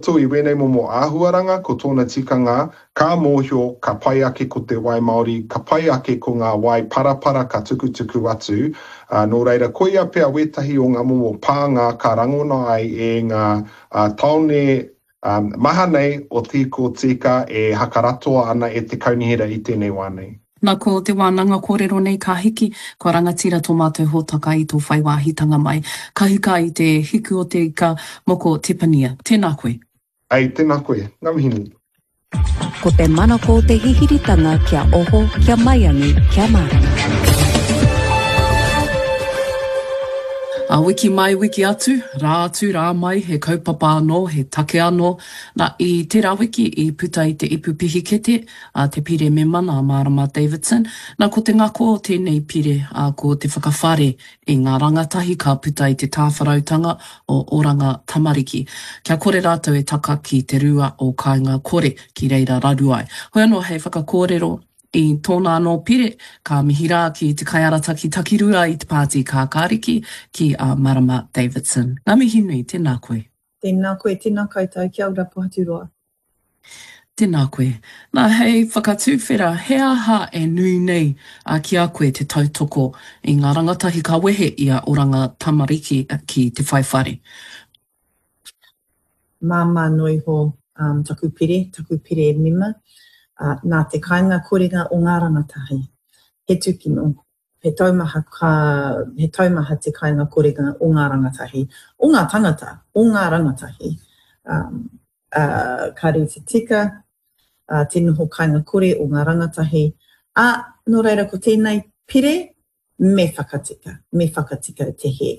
roto i wēnei momo āhuaranga, ko tōna tikanga, ka mōhio, ka pai ake ko te wai māori, ka pai ake ko ngā wai parapara ka tukutuku atu, ā, nō reira, koia pea wētahi o ngā momo pānga ka rangona ai e ngā tāone maha nei o Tīko Tīka e hakaratoa ana e te kaunihera i tēnei wā nei. Na ko te wānanga kōrero nei ka hiki, kua rangatira tō mātou hōtaka i tō whai wāhitanga mai. Ka hika i te hiku o te ika, moko Tepania. Tēnā koe. Ei, tēnā koe. Ngā mihi nui. Ko te manako o te hihiritanga kia oho, kia maiangi, kia mārama. A wiki mai, wiki atu, rā atu, rā mai, he kaupapa anō, he take anō. Na, i tērā wiki i puta i te ipu pihikete, a te pire mema nā Marama Davidson. Na, ko te ngako o tēnei pire, ā, ko te whakawhare i ngā rangatahi ka puta i te tāwharautanga o Oranga Tamariki. Kia kore rātou e taka ki te rua o Kāinga Kore, ki reira raru ai. Hoi anō hei whakakōrero i tōna anō pire, ka mihi rā ki te kaiarataki takirua i te Pāti Kākāriki, ki a Marama Davidson. Ngā mihi nui, tēnā koe. Tēnā koe, tēnā koutou, kia ora Pohaturoa. Tēnā koe. Nā, hei whakatuwhera, he aha e nui nei ki a koe te tautoko i ngā rangatahi ka wehe i a Oranga Tamariki ki te whai whare? Māmā noa iho taku pire, taku pire mema, nā te kainga korenga o ngā rangatahi. He tūkino, he taumaha ka, he taumaha te kainga korenga o ngā rangatahi, o ngā tangata, o ngā rangatahi. Um, uh, ka rite tika uh, te noho kainga kore o ngā rangatahi. Ā, nō reira ko tēnei pire, me whakatika, me whakatika te hē.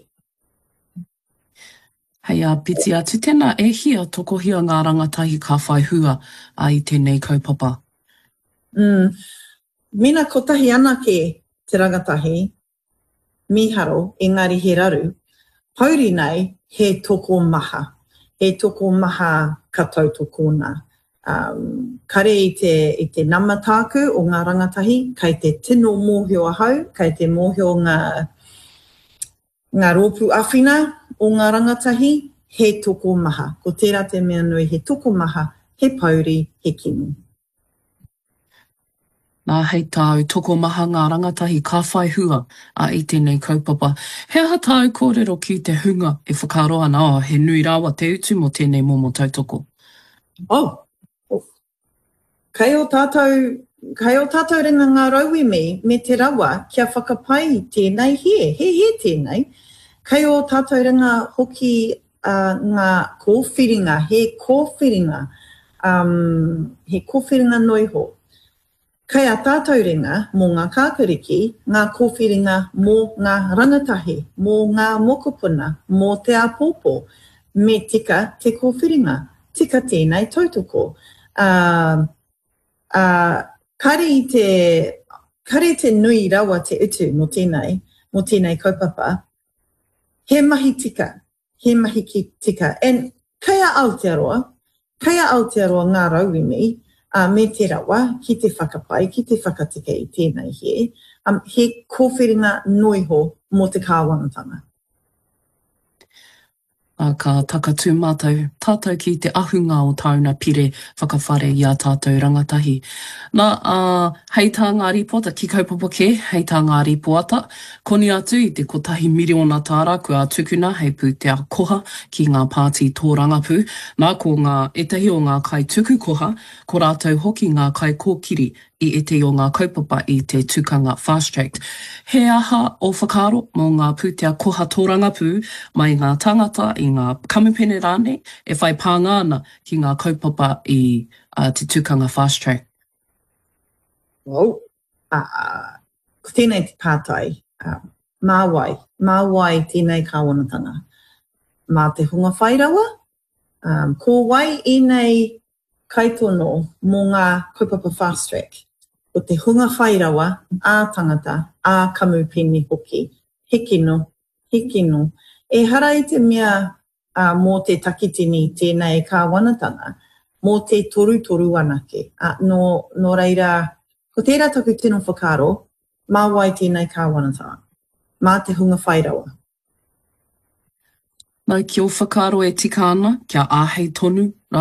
Hei āpiti atu tēnā, e hia tokohia ngā rangatahi ka whai hua i tēnei kaupapa? Mm. Mena kotahi anake te rangatahi, mīharo, engari he raru, pouri nei he tokomaha. He tokomaha ka tautokona. Um, kare i te, i te nama tāku o ngā rangatahi, kei te tino mōhio ahau, kei te mōhio ngā, Ngā rōpū awhina o ngā rangatahi, he tokomaha. Ko tērā te mea nui, he tokomaha, he pouri, he kino. Nā, hei tāu, tokomaha ngā rangatahi ka whai hua i tēnei kaupapa. He aha tāu kōrero ki te hunga e whakaaro ana, oh, he nui rawa te utu mō tēnei momo tautoko? Oh, Kei ō tātou, kei ō tātou ringa ngā rauemi me te rawa kia whakapai i tēnei hē, he hē tēnei. Kei ō tātou ringa hoki ngā kōwhiringa, he kōwhiringa, um, he kōwhiringa noa iho. Kei a tātou ringa mō ngā kākariki, ngā kōwhiringa mō ngā rangatahi, mō ngā mokopuna, mō te āpōpō. Me tika te kōwhiringa, tika tēnei tautoko. Ā, ā, kare i te, kare te nui rawa te utu mō tēnei, mō tēnei kaupapa. He mahi tika, he mahi ki tika. And kei a Aotearoa, kei a Aotearoa ngā rauemi uh, me te rawa ki te whakapai, ki te whakatika i tēnei hē. Um, he kōwhiringa noiho mō te kāwanatanga. Ā, ka takatū mātou, tātou ki te ahunga o tāuna pire whakawhare i ā tātou rangatahi. Nā, ā, hei tā ngā rīpoata, ki kaupapa kē, hei tā ngā rīpoata, Koni atu i te kotahi miriona tāra kua tukuna hei pūtea koha ki ngā pāti tōrangapū, nā ko ngā ētahi o ngā kaituku koha, ko rātou hoki ngā kaikōkiri i ētahi o ngā kaupapa i te tukanga Fast Track. He aha ō whakaaro mō ngā pūtea koha tōrangapū mai i ngā tāngata, i ngā kamupene rānei e whai pānga ana ki ngā kaupapa i te tukanga Fast Track? Well, Ā, ko tēnei te pātai, ā, mā wai? Mā wai tēnei kāwanatanga? Mā te hunga whai rawa? Ā, ko wai ēnei kaitono mō ngā kaupapa fast track? Ko te hunga whai rawa, ā-tangata, ā-kamupene hoki. He kino, he kino. Ehara i te mea ā, mō te takitini tēnei kāwanatanga, mō te torutoru anake. Ā, nō, nō reira, ko tērā taku tino whakaaro, mā wai tēnei kāwanatanga? Mā te hunga whai rawa. Nā, ki ō whakaaro e tika ana kia āhei tonu?